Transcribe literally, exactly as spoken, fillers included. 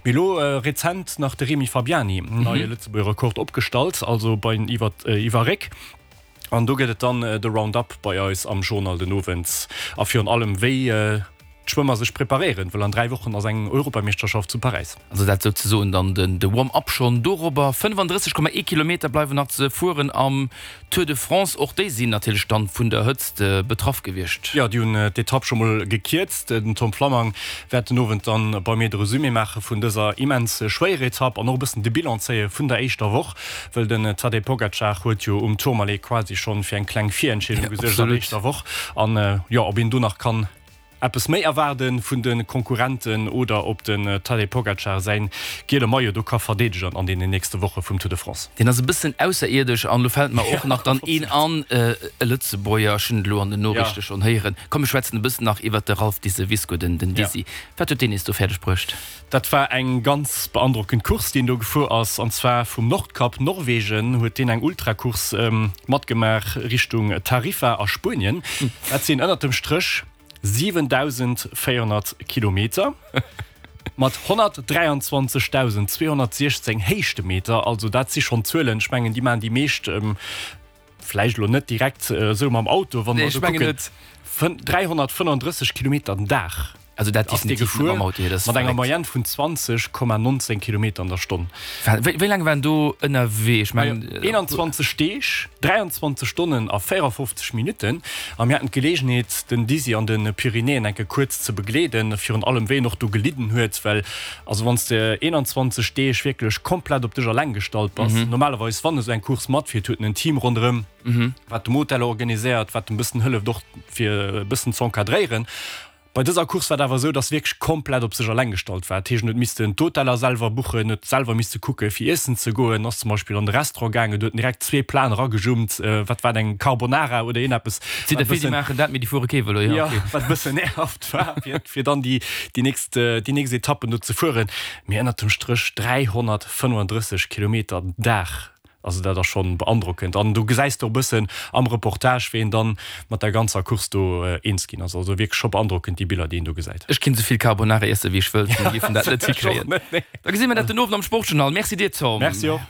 Mee elo rezent nach de Remy Fabiani en neie Lëtzebuerger Rekord opgestallt, also bei den iwwer iwwer Réck. An do gëtt et dann de Roundup bei eis am Journal den Owend a virun allem wéi d'Schwëmmer sech preparéieren, well an dräi Wochen ass eng Europameeschterschaft zu Paräis. Also dat souzesoen dann den de Warm-up schonn dorobber. fënnefandrësseg Komma ee Kilometer bleiwen nach ze fueren am Tour de France. Och déi sinn natierlech dann vun der Hëtzt betraff gewiescht. Jo, déi hunn d'Etapp scho mol gekierzt. Den Tom Flammang wäert den Owend dann bei mir de Resumé maache vun dëser immens schwéierer Etapp an och e bëssen de Bilan zéie vun der éischter Woch, wëll den Tadej Pogacar huet jo um Tourmalet quasi schonn fir eng kleng Virentscheedung gesuergt an der éischter Woch. An jo, ob een do nach kann eppes méi erwaarde vun de Konkurrenten oder ob den Tadej Pogacar säin giele Maillot do ka verdeedegen an deenen nächste Woche vum Tour de France. Deen ass e bëssen ausserierdesch an elo fält mer och nach dann een an, e Lëtzebuerger, ech hunn et elo an den Noriichte schonn héieren. Komm mir schwätzen e bëssen nach iwwert de Ralph Diseviscourt, den Dizzy. Wat huet deen nees do fäerdeg bruecht? Dat war eng ganz beandrockend Course, déi en do gefuer ass, an zwar vum Nordkap, Norwegen, huet deen eng Ultracourse matgemaach Richtung Tarifa a Spuenien. Dat sinn ënnert dem Stréch siwendausendvéierhonnert Kilometer mat honnertdräianzwanzegdausendzweehonnertsiechzéng Héichtemeter. Also dat si schonn Zuelen, ech mengen, déi maachen déi meescht vläicht elo net direkt esou mam Auto, wa mer esou kucken. dräihonnertfënnefandrësseg Kilometer den Dag. Also dat ass dee gefuer mat enger Moyenne vun zwanzeg Komma nonzéng Kilometer an der Stonn. Wéi laang war en do ënnerwee? Ech mengen. eenanzwanzeg Deeg, dräianzwanzeg Stonnen a véierafofzeg Minutten. A mir haten d'Geleegenheet, den Dizzy an de Pyrenäen eng Kéier kuerz ze begleeden, virun allem wéi en och do gelidden huet, well also wann s de eenanzwanzeg Deeg wierklech komplett op dech eleng gestallt bass, normalerweis wann esou eng Course matfiert, huet en en Team ronderëm, wat dem Hotel organiséiert, wat en bëssen hëlleft och fir e bëssen z'encadréieren. Bei dëser Course war et awer esou, dass wierklech komplett op sech eleng gestallt war. Dat heescht, en huet missten d'Hoteller selwer buchen, huet selwer misste kucke fir iessen ze goen, ass zum Beispill an de Restaurant gaangen, do huet en direkt zwee Platen eragejummt, wat war et, eng Carbonara oder iergendeppes, Sinn der vill, déi maachen dat, mee déi fuere kee Vëlo, jo, okay. Wat e bëssen nervt war, fir, fir dann déi, déi nächst, déi nächst Etappen do ze fueren. Mee ënnert dem Stréch dräihonnertfënnefandrësseg Kilometer den Dag. Also dat ass schonn beandrockend an do gesäis de och bëssen am Reportage wéi een dann mat der ganzer Course do eens ginn ass. Also wierklech scho beandrockend déi Biller déi een do gesäit. Ech kinn souvill Carbonara iessen wéi ech wëllt, mir géifen dat net hikréien. Da gesi mir dat den Owend am Sportjournal. Merci dir Tom. Merci och.